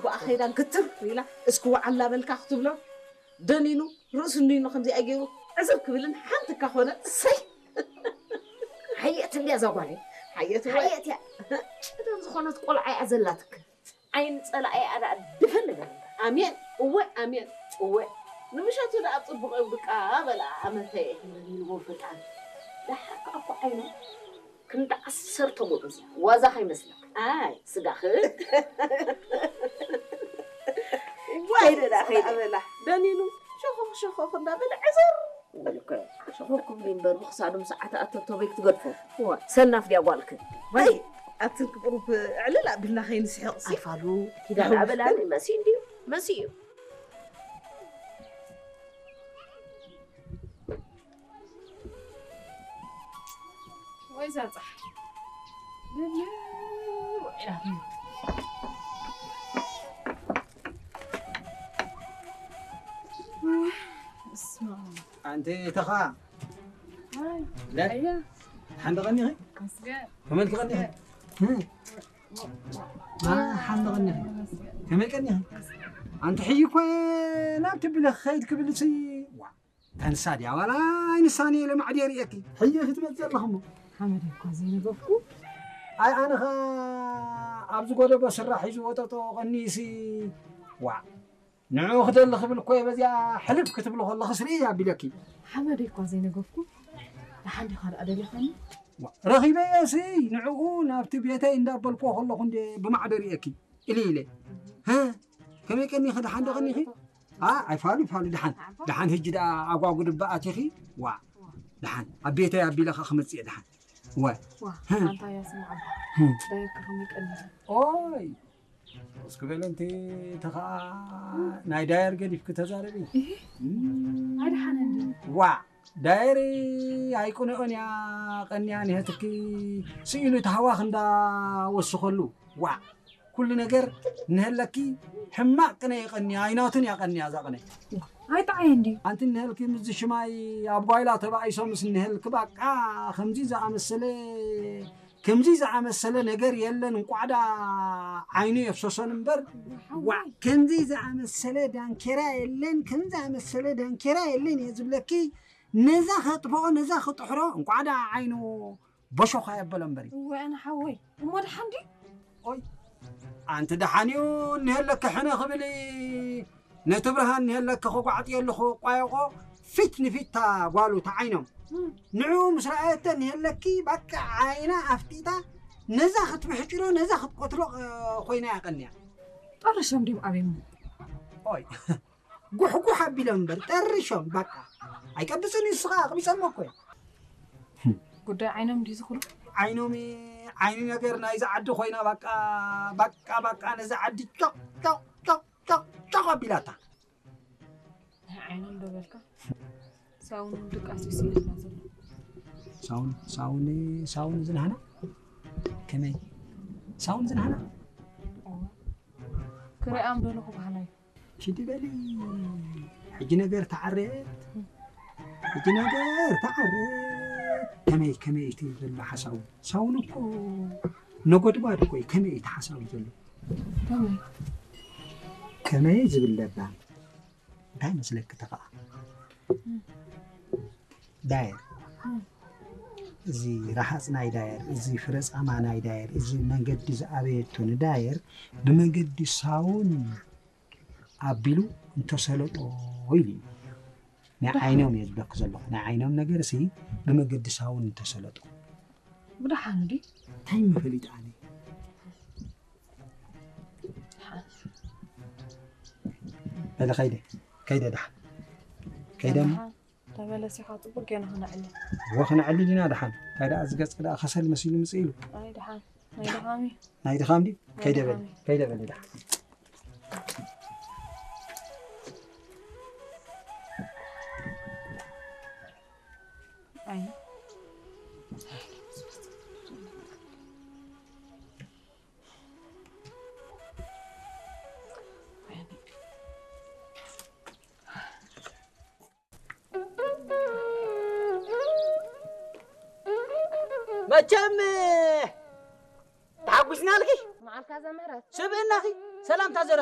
ብኣ ኸይዳ ግትር ኢላ እስኪ ወዓላ በልካ ክትብሎ ደኒኑ ርእሱ እንዲኑ ከምዚኣ ገይሩ ዕዝብ ክብልን ሓንቲ እካ ኮነ እሰይ። ሓየት እንድያ እዛ ጓለይ። ሓየት እወ። ሓየት እያ። ጭደን ዝኾነት ቆልዓ እያ ዘላትክ። ዓይኒ ጸላኢ እያ ደኣ ድፈን ንበል። ኣሜን እወ ኣሜን እወ። ንምሸቱ ደኣ ጽቡቕ እዩ ብቃ በላ ኣመተየ። ኢልዎ ፈጣን። ደሓር ከኣ እኮ ዓይኑ ክንዲ ዓሰርተ ጎበዝ እያ። ዋዛ ከይመስለካ። ኣይ ስጋኽ። ዋይ ከይደ ደኣ ከይደ። በላ። ደኒኑ ሸኾኽ ሸኾኽ እንዳበለ ዕዘር። በልከ ሸኾኽ ክብል እምበር ብኽሳዱ ምስ ዓተ ኣተብተበይ ክትገድፎ። እዋ። ሰናፍ ድያ ጓልክ? ዋይ ኣትን ክቁሩብ ዕልል ኣቢልና ከይንስሕቕ ሲ። ኣይፋሉ። ኪዳ ደኣ በላኒ መሲ እንድዩ። መሲ እዩ። ወይ ዛጻሕ። እስማ። ኣንቲ ተኻ። ኣይ፣ ለ? ኣያ። ሓንደ ቀኒኺ? ኣስገ። ከመልክ ቀኒኺ? ኣስገ። እ? ማ ሓንደ ቀኒኺ? ኣስገ። ከመይ ቀኒኺ? ኣንቲ ሕይ እኮ ናብቲ ብለ ኸይድ ክብል ሲ። ዋ። ተንሳ ድያ ዋላ ኣይንሳን ኢለ ማዕድ የርእየኪ። ሕጂ ክትመጽእ ኣለኹ እሞ። ሓመድ እኳ ዘይነገፍኩ። ኣይ ኣነ ኸ ኣብዚ ጎደቦ ስራሕ ሒዙ ወጠጦ ቀኒሲ። ዋ። ንዑ ክደሊ ክብል እኮ እየ በዚኣ ሕልፍ ክትብሊ ከለኽስ ርእየ ኣቢለኪ። ሓመድ እኳ ዘይነገፍኩ። ደሓን ዲኻ ደኣ ደሊኻኒ? ዋ፣ ረኺበዮ ሲ ንዕኡ ናብቲ ቤተይ እንዳበልክዎ ከለኹ እንደ ብማዕዶ ርእየኪ። ኢሊ ኢለ። ሀ? ከመይ ቀኒኺ ደሓን ዶ ቀኒኺ? ኣ፣ ኣይፋሉ፣ ይፋሉ፣ ደሓን። ደሓን፣ ህጂ ደኣ ኣጓጉ ድባ ኣቲኺ? ዋ፣ ደሓን። ኣብ ቤተይ ኣቢለ ኸኣ ክመጽእ እየ፣ ደሓን። ወ። ዋ፣ ህ። ኣንታ እያ ስምዓ። ህ። ዳየካ ከመይ ቀኒኺ? ኦይ፣ እስኪ በለ፣ እንቲ፣ እቲ ኸኣ ናይ ዳየር ገዲፍኪ ተዛረቢ። እህ? እም። ኣይ፣ ደሓን እንዲ። ዋ፣ ዳየር ኣይቅንኦን እያ፣ ቀንያ፣ ንህትኪ ስኢሉ ተሃዋኽ እንዳወስኸሉ። ዋ፣ ኩሉ ነገር ንህለኪ ሕማቅ ቅነ ይቀንያ፣ ኣይናቱን እያ ቀንያ እዛ ቅነ። ኣይጠዓየ እንድዩ። ኣንቲ ንህልኪ ምስዚ ሽማይ ኣብ ጓይላ ተባኢሶ ምስ ንህልኪ ባቃ ከምዚ ዝኣመሰለ፣ ከምዚ ዝኣመሰለ ነገር የለን። እንቋዕ ደኣ ዓይኑ የፍሰሶን እምበር። ሓወይ። ዋ፣ ከምዚ ዝኣመሰለ ዳንኬራ የለን፣ ከምዚ ዝኣመሰለ ዳንኬራ የለን እየ ዝብለኪ። ነዛ ከጥፍኦ፣ ነዛ ክጥሕሮ፣ እንቋዕ ደኣ ዓይኑ በሾኻ የበሎ እምበሪ። እወ፣ ኣነ ሓወይ፣ እሞ ደሓን ድዩ? ኦይ፣ ኣንቲ ደሓን እዩ፣ እኒሀለኪ ሕነ ክብል፣ ነቲ ብርሃን እኒሀለኪ ክጓዕጥየሉ ክቋየቆ፣ ፊት ንፊት እታ ጓሉ ተዓይኖም። እም። ንዕኡ ምስ ረኣየቶ እኒሀለኪ፣ ባቃ ዓይና ኣፍጢጣ፣ ነዛ ክትብሕጭሎ፣ ነዛ ክትቆትሎ፣ እ፣ ኮይና እያ ቀንያ። ጠርሾም ድዮም ኣበይሞ? ኦይ፣ ጉሕጉሕ ኣቢሎም እምበር፣ ጠርሾም፣ ባቃ። ኣይቀብጽን እዩ፣ ንሱ ኸኣ ኣቕቢጸሞ እኮ እዩ። ጉዳይ ዓይኖም ድዩ ዝኹሉ? ዓይኖም፣ ዓይኒ ነገር ናይዛ ዓዲ ኮይና፣ ባቃ፣ ባቃ፣ ባቃ፣ ነዛ ዓዲ ጮቕ፣ ጮቕ፣ ጮቕ፣ ጮቕ፣ ጮቕ ኣቢላታ። ናይ ዓይኖም ዶ በልካ? ሳውን ድቃስ እዩ ስኢልና ዘሎ። ሳውን፣ ሳውን፣ ሳውን ዝናህና? ከመይ? ሳውን ዝናህና? እወ። ክሪኣም ደለኹ ባህላይ። ኪዲ በሊ። ሕጂ ነገር ተዓረት። ሕጂ ነገር ተዓረት። ከመይ፣ ከመይ እቲ ዘሎ ሓሳቡ? ሳውን እኮ ነጎድጓድ እኮ እዩ። ከመይ እቲ ሓሳቡ ዘሎ? ከመይ? ከመይ ዝብል ለባም። እንታይ መስለኪ ተኸኣ? ዳየር። እዚ ረሃጽ ናይ ዳየር፣ እዚ ፍረ ጻማ ናይ ዳየር፣ እዚ መንገዲ ዝኣበየቶ ንዳየር ብመገዲ ሳውን ኣቢሉ እንተሰለጦ ኢሉ እዩ። ናይ ዓይኖም እየ ዝብለኪ ዘለኹ። ናይ ዓይኖም ነገር ሲ ብመገዲ ሳውን እንተሰለጦ። ብደሓን ድዩ? እንታይ ምፈሊጥ ኣነ? በለ ከይደ፣ ከይደ ደሓን። ከይደ እሞ። ደሓን። ተመለስ ኢኻ፣ ጽቡቅ ጌና ክነዕልል። እወ፣ ክነዕልል ኢና ደሓን። እንታይ ደኣ፣ እዚ ገጽ ደኣ ከሰል መሲሉ ምጽእ ኢሉ። ኣይ፣ ደሓን። ናይ ድኻም እዩ። ናይ ድኻም ድዩ? ናይ ከይደ በሊ፣ ድኻም እዩ። ከይደ በሊ ደሓን። ኣይ። መቸም ተሓጒስናልኪ። መዓልካ ዘምህረት። ስብእናኺ ሰላምታ ዘረ